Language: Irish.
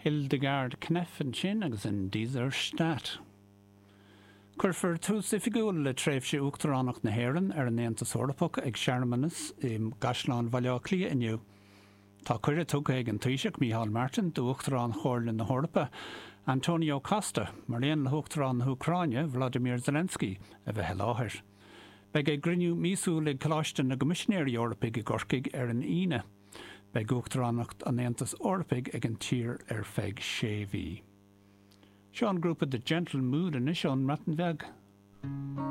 Hildegard Knef ansin agus In dieser Stadt. Cuirfear tús oifigiúil le tréimhse Uachtaránacht na hÉireann ar an Aontas Eorpach ag searmanas i gCaisleán Bhaile Átha Cliath inniu. Tá cuireadh tugtha ag an Taoiseach Micheál Martin d'Uachtarán Chomhairle na hEorpa, Antonio Costa, mar aon le hUachtarán na hÚcráine, Volodymyr Zelensky, a bheith i láthair. Beidh a gcruinniú míosúil ag Coláiste na gCoimisinéirí Eorpaigh i gCorcaigh ar an Aoine. Beidh Uachtaránacht an Aontais Eorpaigh ag an tír ar feadh sé mhí. Seo an grúpa The Gentle Mood anois ón mBreatain Bheag.